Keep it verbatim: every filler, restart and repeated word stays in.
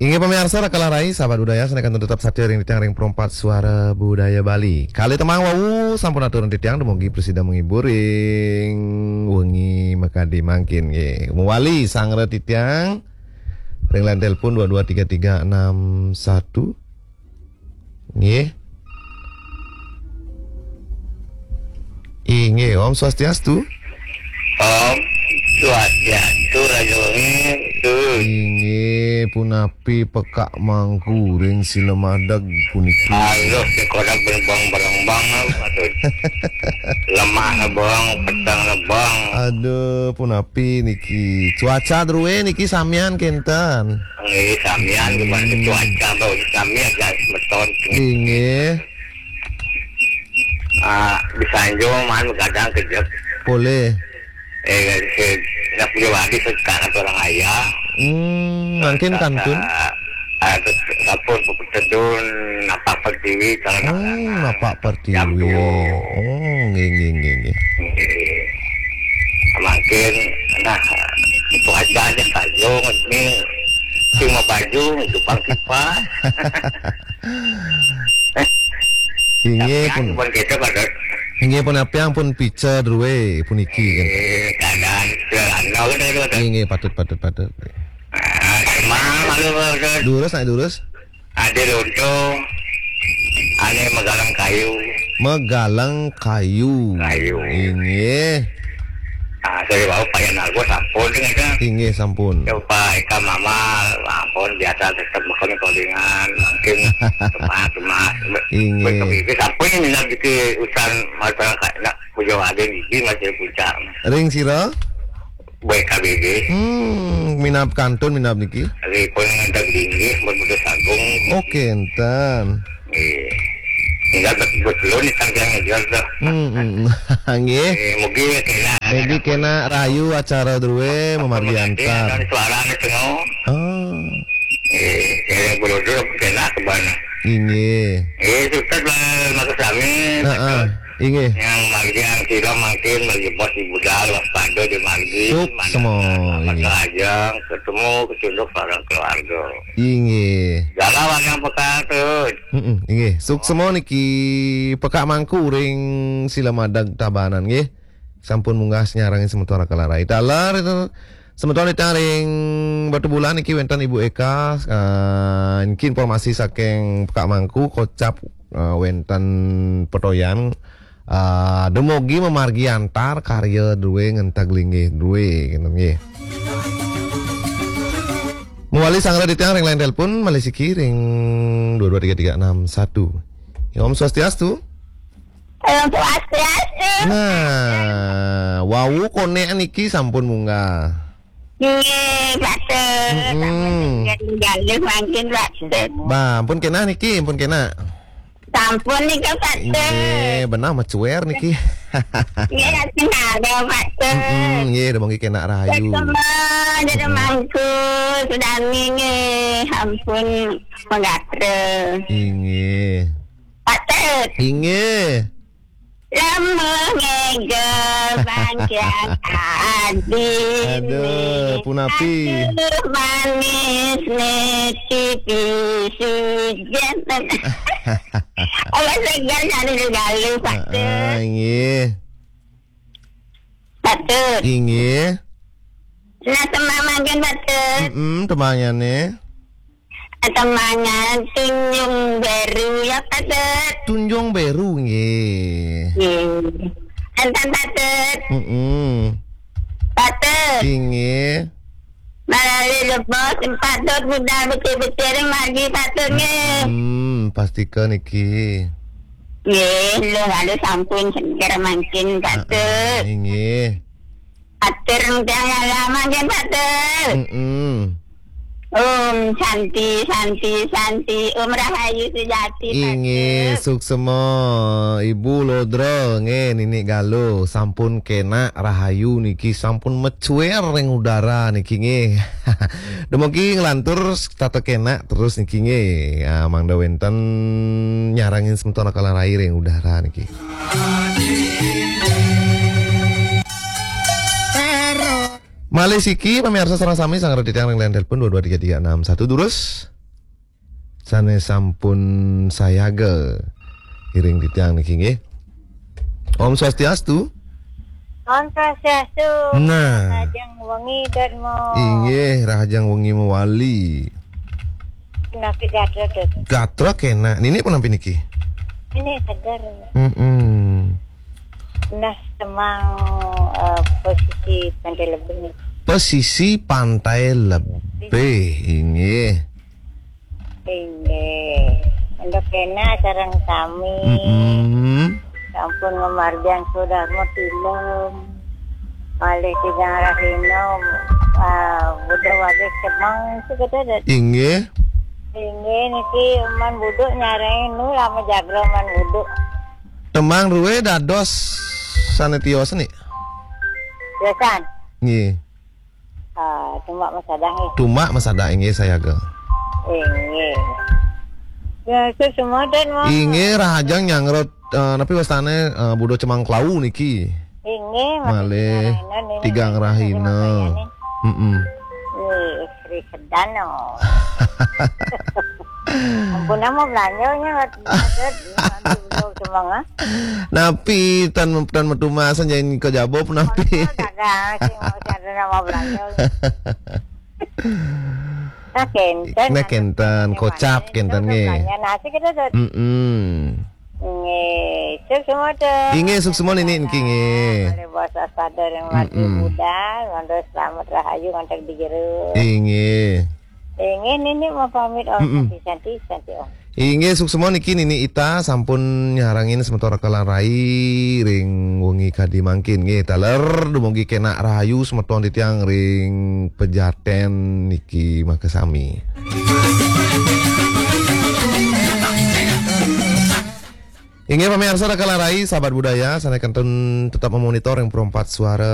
Inggih pamiarsa, Rakala Rai, sahabat budaya, sané kantun tetep satia ring titiang ring Perempat Suara Budaya Bali. Kalih tembang wau sampun atur titiang, dumugi prasida menghibur ring wengi makadi mangkin nggih. Mawali sanggra titiang ring line telepon dua dua tiga tiga enam satu. Nggih. Inggih, Om Swastiastu. Om Swastiastu, Raja Wengi. Tuh. Inggih, punapi pekak mangku ring Silamadeg puniki? Aduh, sekolah berbang-berbang, aduh. Lemah bang, petang bang. Aduh, punapi niki? Cuaca drué niki samian kénten? Nggih, samian gimana? Hmm. Cuaca bau samian, gas meton. Inggih. Ah, di Sanjo man kadang kejep. Boleh. Eh, eh, nak punya wadi sekarang orang ayah. Hmm, mungkin kantun. Ah, terus kapur buku tedun, napak pertiwi, kalau nak. Hmm, napak pertiwi. Jam dua. Oh, nggih, nggih, nggih, nggih. Nggih. Makin, nah, itu aja aja kayu, ini cuma baju, itu pang kipas. Inggih pun. Pun kita pada. Inggih pun apa yang pun pica drué puniki kan. Eh, keadaan sederhana kan itu kan. Inggih, patut, patut, patut. Ah, emang malu, malu. Durus, nak durus. Ada lontong, ada megalang kayu. Megalang kayu. Kayu. Inggih. Ah, saya bawa Pak Yan Argo sampun dengan kan. Inggih, sampun. Ya, Pak Eka Mama, ampun, biasa tetap makan kolingan, mungkin teman-teman. Inggih. Betul, itu sampun yang nak bikin urusan masyarakat, nak puja ada gigi masih puncak. Ring sira? B K B B. Hmm, minab kantun, minab niki. Ring pun ngantar linggih, bermuda sagung. Oke, enten. Nggih. Tinggal bet-, bet-, belum nih, tangkang aja dah. Hmm, hmm, hmm. Nggih. Eh, mugi kena. Mugi kena rahayu acara drué, mamargi antar. Suara nih tengok. Ah. Eh, eh, bro, bro, kena ke mana? Inggih. Eh, sukses lah, Mas Amin. Heeh. Inggih. Yang margi, yang sira mangkin, margi bos ibu dah, waspada di margi. Suksma, mana inggih. Maka ajang ketemu, kecunduk bareng keluarga. Inggih. Jalan yang pekak tu. Mm-mm, inggih. Suksma niki pekak mangku ring Silamadeg Tabanan, nggih. Sampun munggah nyarengin semeton Rakala Rai. Taler itu semeton titiang ring Batubulan niki wénten Ibu Eka, eh, niki informasi saking pekak mangku kocap, eh, wénten petoyan, eh, dumugi mamargi antar karya drué ngenteg linggih drué, ngéten nggih. Mawali sanggra titiang ring line telepon, malih siki ring dua dua tiga tiga enam satu. Ya, Om Swastiastu. Om Swastiastu. Nah, wau konék niki sampun munggah. Nggih, Pak Tut. Mm-mm. Sampun tinggal mangkin, Pak Tut. Bah, ampun kénak niki, ampun kénak. Sampun nika, Pak Tut. Nggih, benah macuér niki. Nggih, sing ada, Pak Tut. Mm-mm, nggih, dumugi kénak rahayu. Ketemu, jadi mm-mm. Mangku, sami nggih, ampun, mangga. Inggih. Pak Tut. Inggih. Lamun ngéga bangkian adine. Aduh, punapi. Aduh, manis ne pipi sujan. Awas segar nyari galuh, Pak Tut. Ah, inggih. Pak Tut. Inggih. Nah, tembang mangkin, Pak Tut. Mm-mm, tembangnyané. Tembangan Tunjung Beru ya, Pak Tut. Tunjung Beru, nggih. Nggih. Enten, Pak Tut. Mm-mm. Pak Tut. Inggih. Malali lebos, Pak Tut, budal becik-becik ring margi, Pak Tut, nggih. Hmm, pastika niki. Nggih, lho, lalu sampun seger mangkin, Pak Tut. Ah, ah, inggih. Atur tiang lama nggih, Pak Tut. Mm-mm. Om Santi, Santi, Santi, Om Rahayu Sujati, Pak Tut. Inggih, suksema Ibu Lodra, nggih, Nini Galuh, sampun kénak rahayu niki, sampun macuér ring udara niki, nggih. Dumugi nglantur tata kénak terus niki, nggih. Ya, mangda wénten nyarengin semeton Rakala Rai ring udara niki. Malih siki, pamiarsa sareng sami, sanggra titiang ring line telepon dua dua tiga tiga enam satu, durus. sané sampun sayaga iring titiang niki nggih. Om Swastiastu. Om Swastiastu. Nah. Rahajeng wengi, Dot, mo. Inggih, rahajeng wengi mawali. Napi gatra, Dot? Gatra kénak. Nini punampi niki? Ini seger. Mm-mm. Nah, Temang, eh, pesisir Pantai Lebih. Pesisir Pantai Lebih, inggih. Inggih. Untuk kena sareng sami. Mm-mm. Sampun ngamargiang Sudarma Tilem. Malih tigang rahina, ah, Buda Wagis Temang, itu kata, Dot. Inggih. Inggih, niki Man Budu nyarengin nu lama jagra Man Budu. Temang ruwe dados sané tios nih. Tiosan. Nggih. Ah, cuma masadah nggih. Cuma masadah inggih sayaga. Inggih. Ya, itu semua dan mau. Inggih, rahajeng nyanggra, eh, napi wastané, eh, Buda Cemang Klawu niki. Inggih, malih tigang rahina. Mm-mm. Nggih, Sri Sedano. Ampun, nama belanjanya, Dot. Nanti belum semua, ah. Napi tan, tan matumasan, jangan kejaba napi. Kagak sih, mau cari nama belanja. Nah, kénten. Nah, kénten, kocap kénten nggih. Belanja nasi kita, Dot. Mm-mm. Nggih, sukses semua, Dot. Inggih, sukses semua niki nggih. Malih basa sadar yang lagi muda, mantu selamat rahayu ngantek di jero. Inggih. Inggih, nini mau pamit, Om. Mm-mm. Santi, santi, santi, Om. Inggih, suksma niki Nini Ita sampun nyarengin semeton Raka lan Rai ring wengi kadi mangkin. Nggih, taler dumugi kenak rahayu semeton titiang ring pejaten niki makasami. Inggih pamiarsa Raka lan Rai, sahabat budaya, sané kantun tetap memonitor ring Pro empat Suara.